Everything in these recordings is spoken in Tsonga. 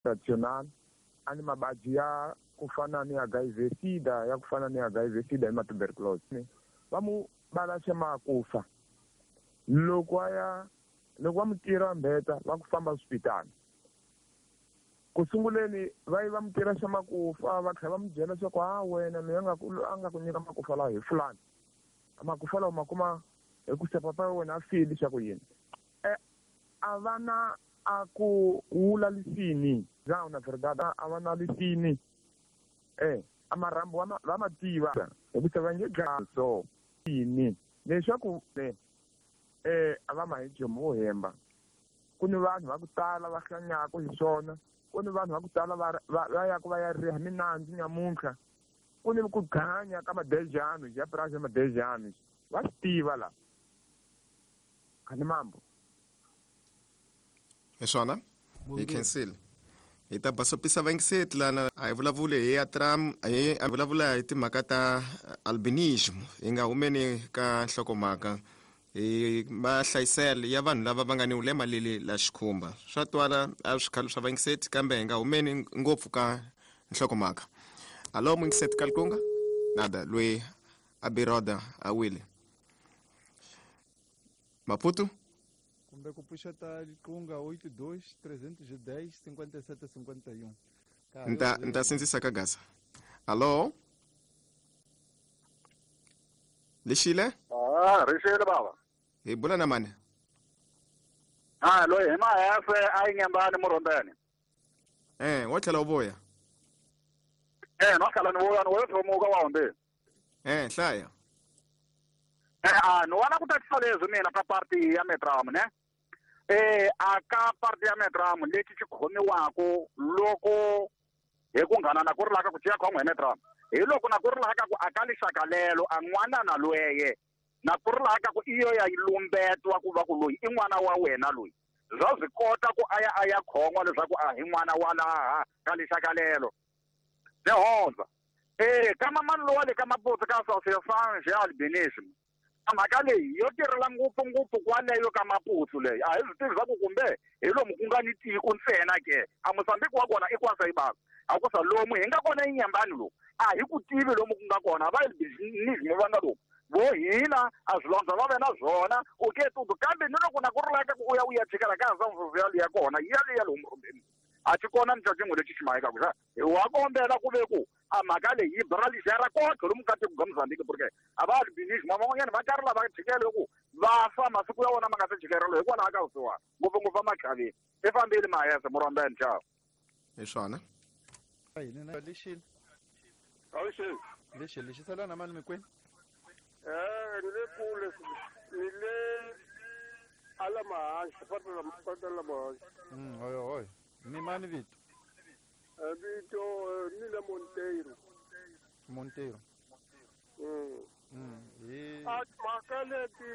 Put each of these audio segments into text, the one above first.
Traditional a ni mabadji ya ku fana ni HIV SIDA ya ku fana ni HIV SIDA ni ma tuberculosis va mu balaxe makufa loko a ya loko va mu tira mbeta va ku famba swipitana ku sunguleni va yi va mu tira xa makufa va tlhela va mu byela leswaku a wena loyi a nga ku a nga ku nyika makufa lawa hi fulani makufa lawa ma kuma hi ku se papa wa wena a file xa ku yini e a va na a ku wula lisini não na verdade a va na lisini e a marhambu va ma tiva hikusa va nge dlaya so yini leswaku e a va ma hi jomo wo hemba ku ni vanhu va ku tala va hlanyaka hi swona ku ni vanhu va ku tala va va yaku va ya riha minandzu nyamuntlha ku ni ku ganya ka madejano ya purasi ya madejano va swi tiva la khani mambo hi swona hi khensile hi ta basopisa vayingiseti lana a hi vulavuli hi atram hi a vulavula hi timhaka ta albinism hi nga humeni ka nhlokomhaka hi mahlayiselo ya vanhu lava va nga ni vulema leli la xikhumba swa twala a swi khale swa vayingiseti kambe hi nga humeni ngopfu ka nhlokomhaka alo muyingiseti kalikunga nada loyi a biroda a wile maputo kumbe ku pfuxeta liqunga 82 310 57 51 nta nta sindzisa ka gasa alo lexile Ah, rixile bava. Hi bula na mani? Ah, loyi hi mahefe a yi nyambani murhombeni. Eh, wo tlhela u vuya. Eh, no tlhela ni vuya ni wo thomuka wa hundzile. Eh, hlaya. Eh, a ni wana ku tatisa leswi mina ka party ya Metram ne. Eh, a ka party ya Metram lexi xi khomiwaku loko hi ku nghana na ku ri laka ku ciya khon'we hi Metram. Hi loko na ku ri laka ku a ka lixaka lelo a n'wana na lweye na ku ri laka ku iyo ya yi lumbetwa ku va ku loyi i n'wana wa wena loyi bya swi kota ku a ya a ya khon'wa leswaku a hi n'wana wa laha ka lixaka lelo ni hundza e ka mamani lowa le ka maputsu ka association ya albinism a mhaka leyi yo tirhela ngopfungopfu kwaleyo ka maputsu leyi a hi swi tivi swa ku kumbe hi lomu ku nga ni tiko ntsena ke a Mozambique wa kona i kwasa ibava a ku sa lomu hi nga kona inyambani lomu a hi ku tivi lomu ku nga kona va albinism va nga lomu vo hina a swilondza va ve na swona u ke tutu kambe ni loko na ku ri laka ku u ya u ya chikela ka ha ya kona ya le ya lomu rhumbeni a xi kona ni xa xin'we lexi xi mahekaku xa hi wa kombela ku ve ku a mhaka leyi yi bralixera kotlhe lomu ka tiko ka Mozambique porque a va albinism van'wanyana va karhi lava chikele ku va fa masiku ya vona ma nga se chikerelo hikwalaho ka vusiwana ngopfungopfu emakhaveni i fambile mahese murhombeni chavo hi swona lexile Awuxi. lexi lexi sala na mani mikwenu Eh, ni le kule ni le ala mahansi pata la pata la mahansi. Hoyo hoyo ni mani vito Vito ni le Monteiro. Monteiro hi A mhaka leti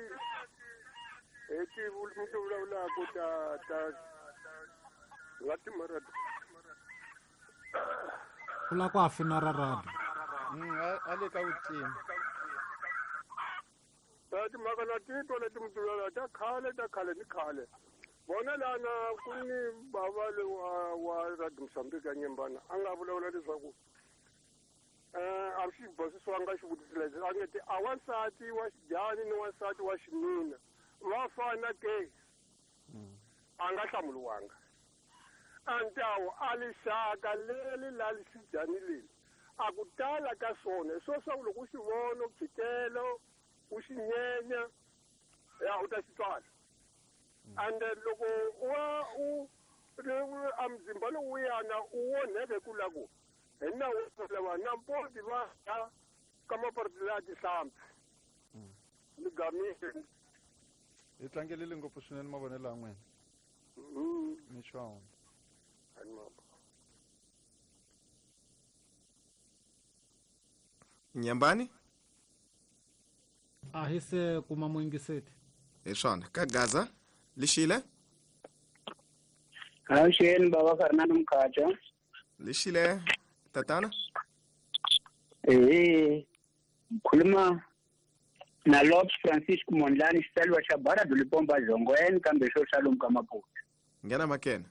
hi ti mi ti vulavulaka ta ta nga timara u lava ku afina ra radio a le ka vutima ta timhaka na titwa leti mi ti vulavulaka ta khale ta khale ni khale vona lana ku ni bava le wa wa radio Mozambique ya Nyembana a nga vulavula leswaku a swi basisiwanga xivutiso lexi a nge ti a wansati wa xidyani ni wansati wa xinuna va fana ke a nga hlamuriwanga antawu a lixaka leri la xidyani leli a ku tala ka swona hi swo swa ku loko u xi vona u tshikela u xi nyenya ya u ta xi tswala and loko wa u a muzimba lowuyana u onheke ku la ku hi nawu lava na mpoti va ya ka maparti ya tihlampfi ni gamile hi tlangelele ngopfu swinene mavonelo ya n'wina ni xona Nyambani a hi se kuma muyingiseti hi swona ka Gaza lexile Avuxeni baba Fernando Mkhacha. Lexile tatana Ehe. Khuluma na Lopes Francisco Mondlane xitsalwa xa Barado Lipomba Zongweni kambe xo xa lomu ka Maputo. Nghena makena.